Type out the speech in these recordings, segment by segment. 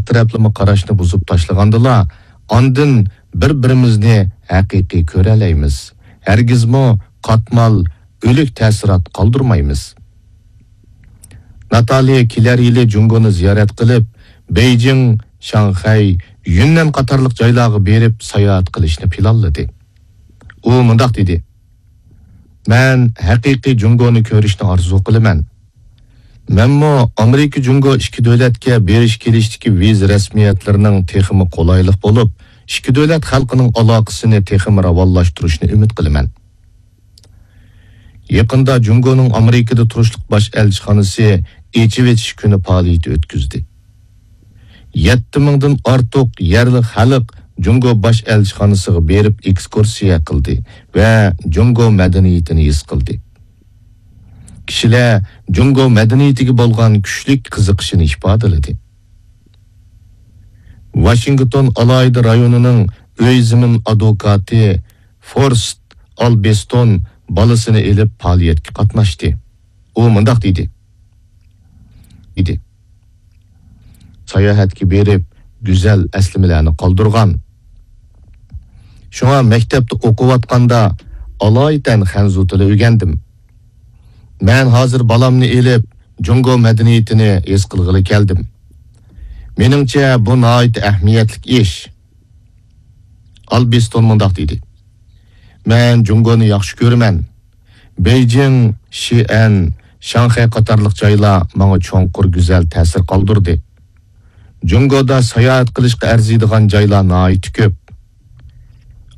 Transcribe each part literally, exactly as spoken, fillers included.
تەرەپلىمە قاراشنى بۇزۇپ تاشلىغاندىلا، ئاندىن بىر-بىرىمىزنى ھەقىقىي كۆرەلەيمىز. ھەرگىزمۇ قاتمال، ئۆلۈك تەسىرات قالدۇرمايمىز. ناتالىيە كېلەر يىلى جۇڭگونى زىيارەت قىلىپ، بېيجىڭ، شاڭخەي، يۈننەن قاتارلىق جايلارغا بېرىپ ساياھەت قىلىشنى پىلانلىدى. ئۇ مۇنداق دېدى: «مەن ھەقىقىي جۇڭگونى كۆرۈشنى ئارزۇ قىلىمەن. مەنمۇ ئامېرىكا جۇڭگو ئىككى دۆلەتكە بېرىش كېلىشتىكى ۋىزا رەسمىيەتلىرىنىڭ تېخىمۇ قولايلىق بولۇپ، ئىككى دۆلەت خەلقىنىڭ ئالاقىسىنى تېخىمۇ راۋانلاشتۇرۇشنى ئۈمىد قىلىمەن.» يېقىندا جۇڭگونىڭ ئامېرىكىدا تۇرۇشلۇق باش ئەلچىخانىسى ئېچىۋېتىش كۈنى پائالىيىتى ئۆتكۈزدى. يەتتە مىڭدىن ئارتۇق يەرلىك خەلق جۇڭگو باش ئەلچىخانىسىغا بېرىپ ئېكسكۇرسىيە قىلدى ۋە جۇڭگو مەدەنىيىتىنى ھېس قىلدى. كىشىلەر جۇڭگو مەدەنىيىتىگە بولغان كۈچلۈك قىزىقىشىنى ئىپادىلىدى. ۋاشىنگتون ئالاھىدە رايونىنىڭ ئۆي زېمىن ئادۋوكاتى فورست ئالبېستون بالىسىنى ئېلىپ پائالىيەتكە قاتناشتى. ئۇ مۇنداق دېدى، دېدى: «ساياھەتكە بېرىپ، گۈزەل ئەسلىمىلەرنى قالدۇرغان. شۇڭا مەكتەپتە ئوقۇۋاتقاندا ئالايىتەن خەنزۇ تىلى ئۆگەندىم. مەن ھازىر بالامنى ئېلىپ، جۇڭگو مەدەنىيىتىنى ھېس قىلغىلى كەلدىم. مېنىڭچە، بۇ ناھايىتى ئەھمىيەتلىك ئىش.» ئالبېستون مۇنداق دېدى: «مەن جۇڭگونى ياخشى كۆرىمەن. بېيجىڭ، شىئەن، شاڭخەي قاتارلىق جايلار ماڭا چوڭقۇر گۈزەل تەسىر قالدۇردى. جۇڭگودا ساياھەت قىلىشقا ئەرزىيدىغان جايلار ناھايىتى كۆپ.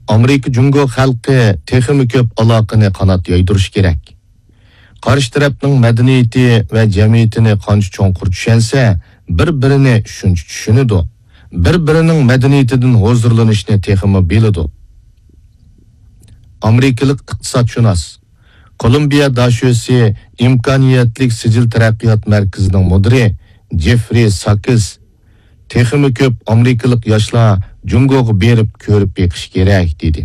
ئامېرىكا جۇڭگو خەلقى تېخىمۇ كۆپ ئالاقىنى قانات يايدۇرۇشى كېرەك. قارشى تەرەپنىڭ مەدەنىيىتى ۋە جەمئىيىتىنى قانچە چوڭقۇر چۈشەنسە، بىر-بىرىنى شۇنچە چۈشىنىدۇ، بىر-بىرىنىڭ مەدەنىيىتىدىن ھۇزۇرلىنىشنى تېخىمۇ بىلىدۇ.» ئامېرىكىلىق ئىقتىسادشۇناس، كولومبىيە داشۆسى ئىمكانىيەتلىك سىجىل تەرەققىيات مەركىزىنىڭ مۇدىرى جېفرى ساكس، «تېخىمۇ كۆپ ئامېرىكىلىق ياشلار جۇڭگوغا بېرىپ كۆرۈپ بېقىشى كېرەك» دېدى.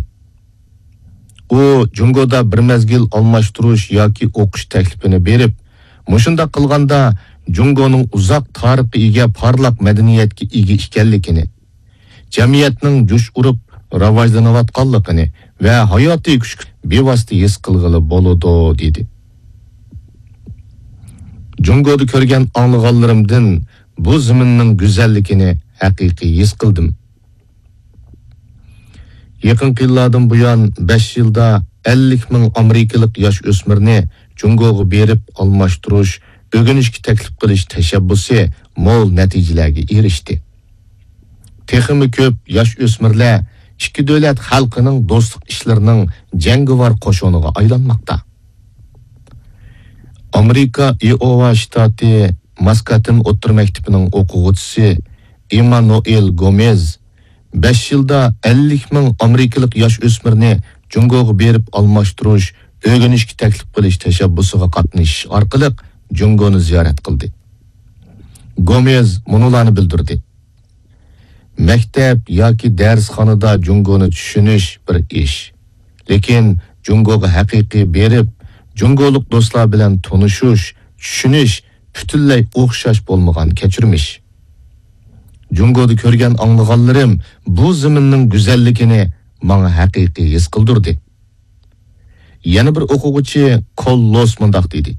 ئۇ جۇڭگودا بىر مەزگىل ئالماشتۇرۇش ياكى ئوقۇش تەكلىپىنى بېرىپ، مۇشۇنداق قىلغاندا جۇڭگونىڭ ئۇزاق تارىخقا ئىگە پارلاق مەدەنىيەتكە ئىگە ئىكەنلىكىنى، جەمئىيەتنىڭ جۇش ئۇرۇپ راۋاجلىنىۋاتقانلىقىنى ۋە ھاياتىي كۈچكە بىۋاسىتە ھېس قىلغىلى بولىدۇ، دېدى. جۇڭگودا كۆرگەن ئاڭلىغانلىرىمدىن بۇ زېمىننىڭ گۈزەللىكىنى ھەقىقىي ھېس قىلدىم. يېقىنقى يىللاردىن بۇيان، بەش يىلدا ئەللىك مىڭ ئامېرىكىلىق ياش ئۆسمۈرنى جۇڭگوغا بېرىپ ئالماشتۇرۇش، ئۆگىنىشكە تەكلىپ قىلىش تەشەببۇسى مول نەتىجىلەرگە ئېرىشتى. تېخىمۇ كۆپ ياش ئۆسمۈرلەر ئىككى دۆلەت خەلقىنىڭ دوستلۇق ئىشلىرىنىڭ جەڭگىۋار قوشۇنىغا ئايلانماقتا. ئامېرىكا ئىئوۋا شتاتى ماسكاتىن ئوتتۇرا مەكتىپىنىڭ ئوقۇغۇچىسى ئىممانۇئېل گومېز بەش يىلدا ئەللىك مىڭ ئامېرىكىلىق ياش ئۆسمۈرنى جۇڭگوغا بېرىپ ئالماشتۇرۇش، ئۆگىنىشكە تەكلىپ قىلىش تەشەببۇسىغا قاتنىشىش ئارقىلىق جۇڭگونى زىيارەت قىلدى. گومېز مۇنۇلارنى بىلدۈردى: «مەكتەپ ياكى دەرسخانىدا جۇڭگونى چۈشىنىش بىر ئىش. لېكىن جۇڭگوغا ھەقىقىي بېرىپ، جۇڭگولۇق دوستلار بىلەن تونۇشۇش، چۈشىنىش پۈتۈنلەي ئوخشاش بولمىغان كەچۈرمىش. جۇڭگودا كۆرگەن ئاڭلىغانلىرىم بۇ زېمىننىڭ گۈزەللىكىنى ماڭا ھەقىقىي ھېس قىلدۇردى.» يەنە بىر ئوقۇغۇچى كوللوس مۇنداق دېدى: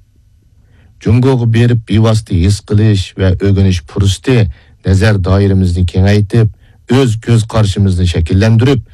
«جۇڭگوغا بېرىپ بىۋاسىتە ھېس قىلىش ۋە ئۆگىنىش پۇرسىتى نەزەر دائىرىمىزنى كېڭەيتىپ، ئۆز كۆز قارىشىمىزنى شەكىللەندۈرۈپ،